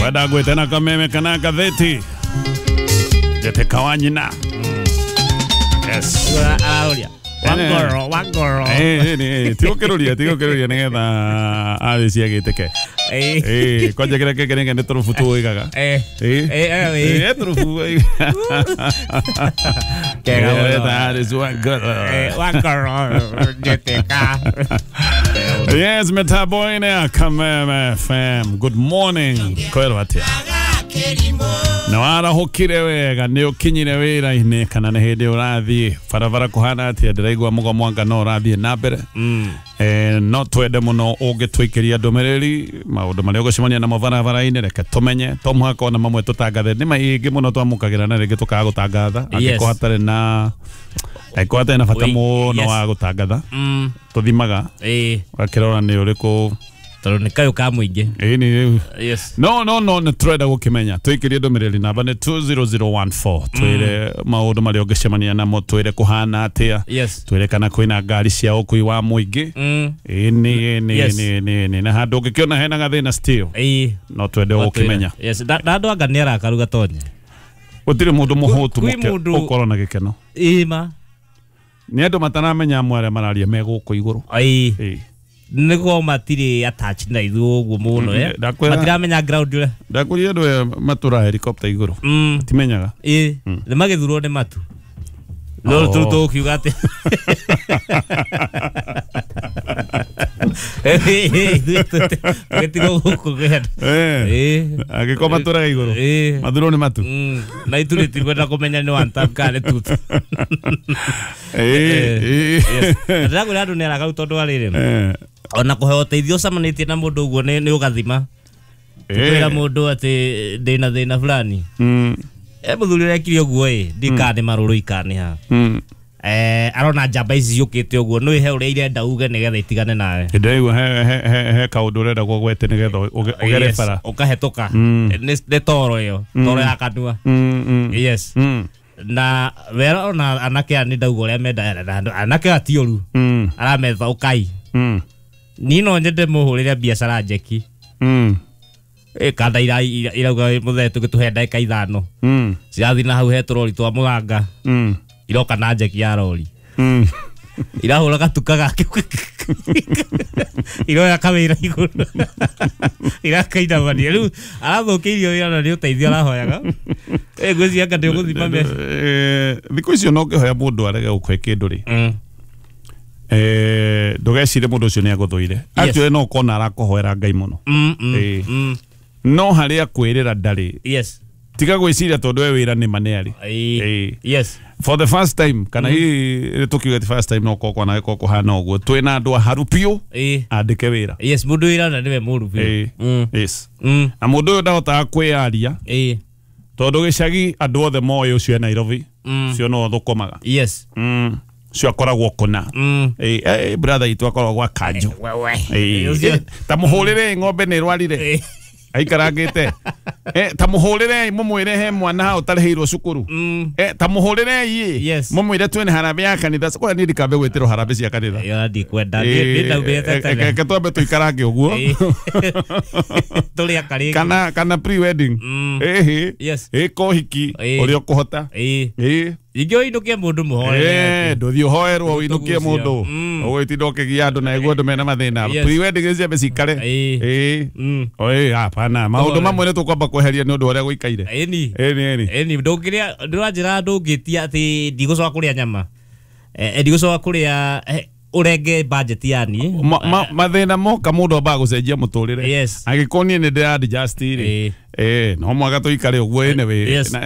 Kwenda gwĩte na kameme kana ngathĩti njĩtĩka wa nyina. Yes. Araũria wangoro wangoro. Tigũkĩrũria tigũkĩrũria nĩgetha arĩcia gĩtĩke. Kwanja kĩrĩa kĩngĩ nĩge nĩ tũrũbu tũigaga. Tũrũbu. Kega mũno. That wangoro. Wangoro njĩtĩka. Yes, metaboine ya Kameme FM. Good morning. Kwĩrwo atĩa? Na warahũkire wega nĩ ũkinyire wĩra-inĩ kana nĩ hĩndĩ ũrathiĩ barabara kũhana atĩa? Ndĩraigua mũgomo anga no ũrathiĩ na mbere. No twende mũno ũngĩtũikĩria ndũmĩrĩri maũndũ marĩa ũgũcemania namo barabara-inĩ, reke tũmenye. To mũhaka ona mamwe tũtangathe, nĩ maingĩ mũno twamũkagĩra na rĩngĩ tũkaga gũtangatha angĩkorwo hatarĩ na angĩkorwo hatarĩ na bata mũno wa gũtangatha. Tũthimaga ũgakĩrora nĩ ũrĩkũ tondũ nĩ kayũ ka mũingĩ. Ĩni. Yes. No no no nĩ tũrenda gũkĩmenya. Tũikĩrie ndũmĩrĩri namba nĩ 20014. Twĩre maũndũ marĩa ũngĩcemania namo, twĩre kũhana atĩa. Yes. Twĩre kana kwĩna ngari cia ũkui wa mũingĩ. Ĩni ĩni ĩni ĩni na handũ ũngĩkĩona hena gathĩna still. No twende gũkĩmenya. Yes, na andũ anga nĩ arakaru gatonye. Gũtirĩ mũndũ mũhũtu ũkorwo na gĩkeno. Ĩma. Nĩ andũ mataramenya amwe arĩa mararia me gũkũ igũrũ. Ĩĩ. Nĩguo matirĩ attached na ithuĩ ũguo mũno matiramenya ground ũrĩa. Ndakũria andũ aya matũraga helicopter igũrũ. Timenyaga. Ĩĩ nĩ magĩthurwo nĩ matu. No tũkiuga atĩ tũgĩtigwo gũkũ kwenda. Angĩkorwo matũraga igũrũ mathurwo nĩ matu. Na ithuĩ tũtikwenda kũmenya nĩ one time kana nĩ two time. Ndĩrakwĩra andũ nĩ aragaru tondũ wa rĩrĩ ona kũheo ũteithio ũcemanĩtie na mũndũ ũguo nĩ ũgathima. Kwĩra mũndũ atĩ ndĩna thĩna fulani. Mũthuri ũrekire ũguo ĩ ndikana nĩ marũrũ ikana ha. Arona njamba ici ciũkĩte ũguo nĩ he ũrĩa irenda uge nĩgetha itigane nawe. Ndĩraigua he kaũndũ ũrenda gwete nĩgetha ũgere bara. Ũkahetũka. Nĩ toro ĩyo, toro ya kanua. Yes. Na wera ona anake aya nĩ ndauga ũrĩa menda anake aya ti ũru. Arametha ũkai. Niĩ no nyende mũhũrĩre biacara njeki. Kanda irauga mũthee tũgĩtũhe ndagĩka 5. Cirathiĩ na hau he tũrori twa mũthanga. Iroka na njeki ya rori. Irahũra gatuka gake. Iroya kawĩra igũrũ. Irakainamania. Rĩu arathũkĩirio wĩra na nĩ ũteithio arahoyaga. Ngwĩciria anga nĩ ũgũthima mbeca. Thikũ icio no ũngĩhoya mũndũ arege gũkũhe kĩndũ rĩ. Ndũgecire mũndũ ũcio nĩ agũthũire. Actually no ũkona arakũhoera Ngai mũno. No harĩa kwĩrĩra ndarĩ. Yes. Tiga gwĩciria tondũ we wĩra nĩ ma nĩ arĩ. Yes. For the first time kana hihi tũkiuga the first time no ũkorwo na gĩkorwo kũhana ũguo twĩna andũ aharu biũ andĩke wĩra. Yes, mũndũ wĩra na nĩwe mũru biũ. Yes. Na mũndũ ũyũ ndahotaga kwĩyaria. Tondũ gĩcagi andũ othe moĩ ũcio e Nairobi. Ũcio no thũkũmaga. Yes. Ũcio akoragwo kũna. Brother itũ akoragwo gwa Kanjũ. Ta mũhũrĩre ng'ombe nĩ ĩrwarire. Aikarangĩte. Ta mũhũrĩre mũmwĩre he mwana hau ũtarĩhĩirwo cukuru. Ta mũhũrĩre mũmwĩre twĩna harambĩ ya kanitha. Kwa niĩ ndikambe gwĩtĩrwo harambĩ cia kanitha. Ĩyo ndikwenda. Nĩ ndaumĩte tene. Reke twambe tũikarange ũguo. Tũrĩ akarĩki. Kana pre-wedding. Yes. Kohiki ũrĩa ũkũhota. Ingĩ ũinũkie mũndũ mũhoere. Ndũthiĩ ũhoerwo ũinũkie mũndũ. Ũgũgĩtinda ũkĩgia andũ na iguo andũ mena mathĩna. Pre-wedding ciambe cikare. Hapana. Maũndũ mamwe nĩ tũkwamba kweheria nĩ ũndũ ũrĩa gũikaire. Ĩni. Ĩni. Ĩni ndũngĩrĩa ndũranjĩra ndũngĩtia atĩ ndigũcoka kũrĩa nyama. Ndigũcoka kũrĩa ũrenge budget yani. Mathĩna moka mũndũ ambaga gũcenjia mũtũrĩre. Yes. Angĩkorwo niĩ nĩ ndĩra adjust rĩ. No mwaka tũikare ũguo anyway.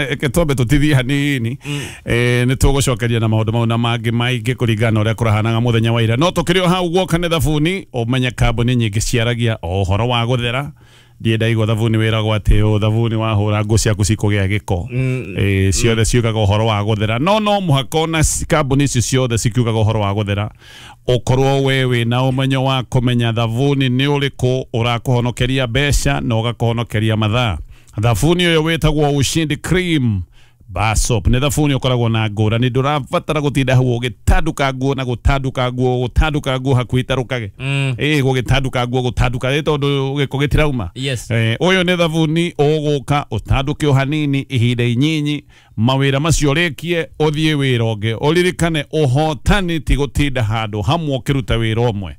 Reke twambe tũtithie hanini. Nĩ tũgũcokeria na maũndũ mau na mangĩ maingĩ kũringana na ũrĩa kũrahanaga mũthenya wa ira. No tũkĩrĩ o hau guoka nĩ thabuni, ũmenye kambuni nyingĩ ciaragia o ũhoro wa gũthera. Ndiĩ ndaigua thabuni wĩragwo atĩ ũ thabuni wahũra nguo ciaku cikũgĩa gĩko. Ciothe ciugaga ũhoro wa gũthera. No no mũhaka ona kambuni icio ciothe cikiugaga ũhoro wa gũthera. Ũkorwo we wĩna ũmenyo wa kũmenya thabuni nĩ ũrĩkũ ũrakũhonokeria mbeca na ũgakũhonokeria mathaa. Thabuni ũyũ wĩtagwo Ushindi Cream Bar soap nĩ thabuni ũkoragwo na ngũrani, ndũrabatara gũtinda hau ũgĩtanduka nguo na gũtanduka nguo, gũtanduka nguo hakuhĩ itarũkage. Gũgĩtanduka nguo gũtanduka ĩ tondũ gĩko gĩtirauma. Yes. Ũyũ nĩ thabuni ũgũka ũtanduke o hanini ihinda inyinyi, mawĩra macio ũrĩkie ũthiĩ wĩra ũngĩ. Ũririkane ũhotani ti gũtinda handũ hamwe ũkĩruta wĩra ũmwe.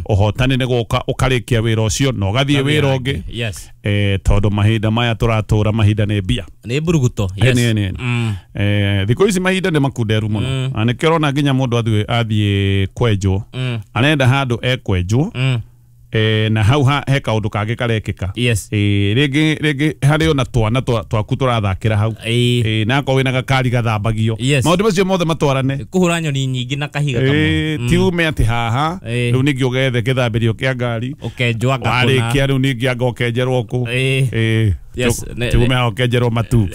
Ũhotani nĩ gũka ũkarĩkia wĩra ũcio na ũgathiĩ wĩra ũngĩ. Yes. Tondũ mahinda maya tũratũra mahinda nĩ mbia. Nĩ mburuguto. Yes. Nĩ. Thikũ ici mahinda nĩ makunderu mũno. Na nĩkĩo ũrona nginya mũndũ athiĩ kwenjwo, arenda handũ ekwenjwo, na hau he kaũndũ kangĩ karekĩka. Yes. Rĩngĩ harĩ ona twana twaku tũrathakĩra hau. Na akorwo wĩna gakari gathambagio. Yes. Maũndũ macio mothe matwarane. Kũhũra nyoni nyingĩ na kahiga kamwe. Ti ume atĩ haha rĩu ningĩ ũgethe gĩthambĩrio kĩa ngari ũkenjwo anga kũna. Warĩkia rĩu ningĩ anga ũkenjerwo kũ. Yes. Ti ume haha ũkenjerwo matu.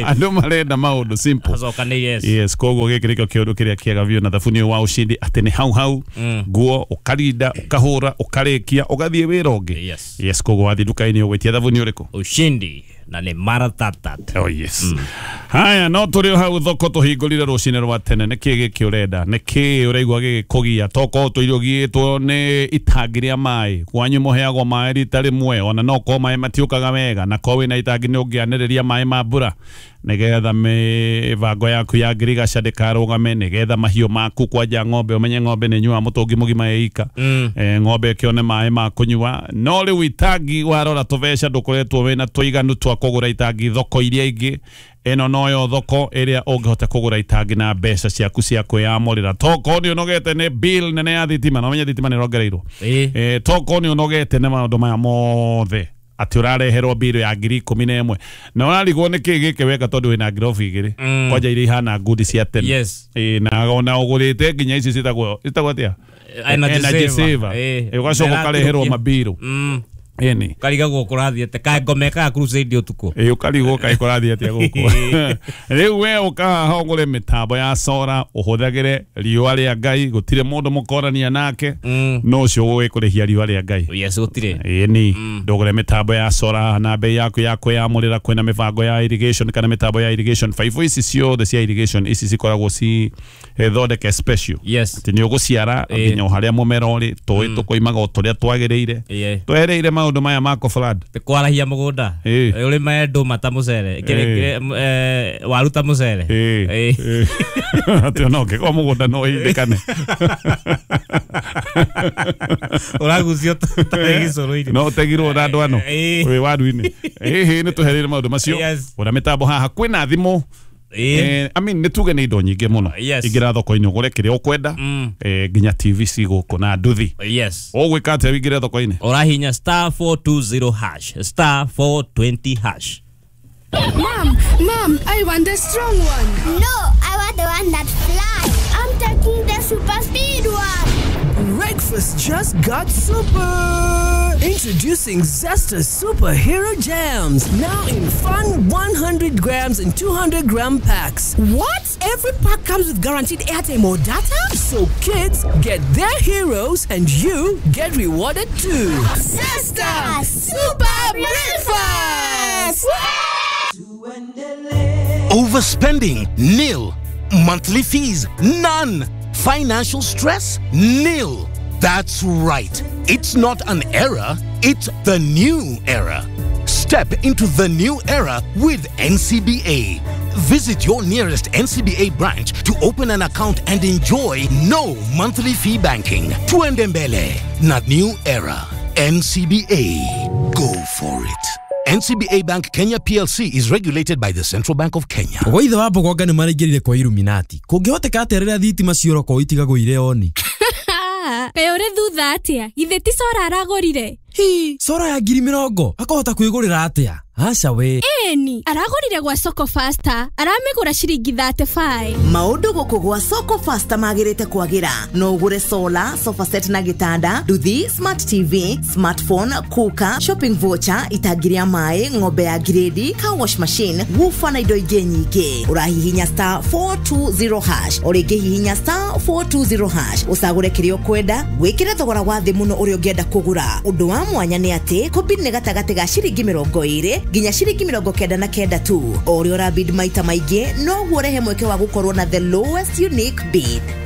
Andũ marenda maũndũ simple. Acokanĩire, yes. Yes, koguo gĩkĩ nĩkĩo kĩũndũ kĩrĩa kĩega biũ na thabuni ũyũ wa ushindi atĩ nĩ hau hau nguo ũkarinda ũkahũra ũkarĩkia ũgathiĩ wĩra ũngĩ. Yes. Yes, koguo wathiĩ nduka-inĩ ũgwĩtia thabuni ũrĩkũ? Ushindi na nĩ maratatata. Oh yes. Haya, no tũrĩ hau thoko tũhingũrire rũcinĩ rwa tene. Nĩkĩ gĩkĩ ũrenda? Nĩkĩ ũraigua gĩgĩkũgia? Tokorwo tũirio ũgiĩtwo nĩ itangi rĩa maĩ. Kwanyu mũheagwo maĩ rita rĩmwe, ona no korwo maĩ matiũkaga wega, na korwo wĩna itangi nĩ ũngĩanĩrĩria maĩ ma mbura nĩgetha mĩbango yaku ya ngirigaca ndĩkarũgame, nĩgetha mahiũ maku kwanja ng'ombe ũmenye ng'ombe nĩ nyuaga mũtũngi mũgima ĩika. Ng'ombe ĩkĩone maĩ ma kũnyua. No rĩu itangi warora tũbeca ndũkoretwo wĩna tũiganu twa kũgũra itangi thoko iria ingĩ. Ĩno noyo thoko ĩrĩa ũngĩhota kũgũra itangi na mbeca ciaku cia kwĩyamũrĩra. Tokorwo nĩ ũnogete nĩ bill nene ya thitima, na ũmenye thitima nĩ ĩrongereirwo. Tokorwo nĩ ũnogete nĩ maũndũ maya mothe atĩ ũrareherwo bill ya 11,000 na ũrarigwo nĩ kĩ gĩkĩ weka tondũ wĩna ngirobu igĩrĩ kwanja iria ihana ngundi cia tene. Yes. Na ona ũgũrĩte nginya ici ciĩtagwo atĩa? Energy saver. Ũgacoka ũkareherwo mabiru. Ĩni. Ũkarigagwo kũrathiĩ kaĩ ngoma ĩkaga crusade ũtukũ. Ũkarigwo kaĩ kũrathiĩ atĩa gũkũ. Rĩu we ũkahaha ũgũre mĩtambo ya sora ũhũthagĩre riũa rĩa Ngai, gũtirĩ mũndũ mũkorania nake, no ũcio ũgũkũrĩhia riũa rĩa Ngai. Yes, gũtirĩ. Ĩni, ndũgũre mĩtambo ya sora na bei yaku ya kwĩyamũrĩra. Kwĩna mĩbango ya irrigation kana mĩtambo ya irrigation. Baibũ ici ciothe cia irrigation ici cikoragwo cithondeke special. Yes. Atĩ nĩ ũgũciara nginya o harĩa mũmera ũrĩ, tũĩ tũkoimaga o tũrĩa twagĩrĩire. Twereire maũndũ maya ma flood. Kwarahia mũgũnda. Ũrĩme ndũma ta mũcere, waru ta mũcere. Atĩ ona ũngĩkorwo mũgũnda no ũhindĩkane. Ũragucio ta gĩcũrũ-inĩ. No ũtegirwo na andũ ano wĩ waru-inĩ. Ĩhĩ, nĩ tũhereire maũndũ macio. Gũra mĩtambo haha kwĩna thimũ. I mean, nĩ tuge nĩ indo nyingĩ mũno. Ingĩra thoko-inĩ ũgũre kĩrĩa ũkwenda, nginya TV cigũkũ na nduthi. Yes. Ũgwĩka atĩa wĩingĩre thoko-inĩ? Ũrahinya *420#, *420#. Mom, I want the strong one. No, I want the one that flies. I'm taking the super speed one. Breakfast just got super. Introducing Zesta Superhero Jams, now in fun 100 grams and 200 gram packs. What? Every pack comes with guaranteed airtime or data? So kids get their heroes and you get rewarded too. Zesta Super Breakfast! Overspending? Nil. Monthly fees? None. Financial stress? Nil. That's right. It's not an era, it's the new era. Step into the new era with NCBA. Visit your nearest NCBA branch to open an account and enjoy no monthly fee banking. Tuendembele, not new era. NCBA. Go for it. NCBA Bank Kenya PLC is regulated by the Central Bank of Kenya. Oithe wa mbogonga nĩ maraingĩrire kwa Illuminati. Kũngĩhoteka atĩa rĩrĩa thitima ciorokwo itigagũire oni? Kaĩ ũrĩ thutha atĩa? Githĩ ti Sora aragũrire? Hi, Sora ya 20,000 akahota kwĩgũrĩra atĩa? Aca we. Ĩni, aragũrire gwa Soko Faster, aramĩgũra ciringi 35. Maũndũ gũkũ gwa Soko Faster magĩrĩte kwagĩra. No ũgũre solar, sofa set na gĩtanda, nduthi, smart TV, smartphone, cooker, shopping voucher, itangi rĩa maĩ, ng'ombe ya grade, car wash machine, woofer na indo ingĩ nyingĩ. Ũrahihinya *420# o rĩngĩ hihinya *420# ũcagũre kĩrĩa ũkwenda, wĩkĩre thogora wa thĩ mũno ũrĩa ũngĩenda kũgũra. Ũndũ wa Wa mwanya nĩ atĩ kũbid nĩ gatagatĩ ga ciringi 20 nginya ciringi 99 tu. O ũrĩa ũrabid maita maingĩ noguo ũrehe mweke wa gũkorwo na the lowest unique bid.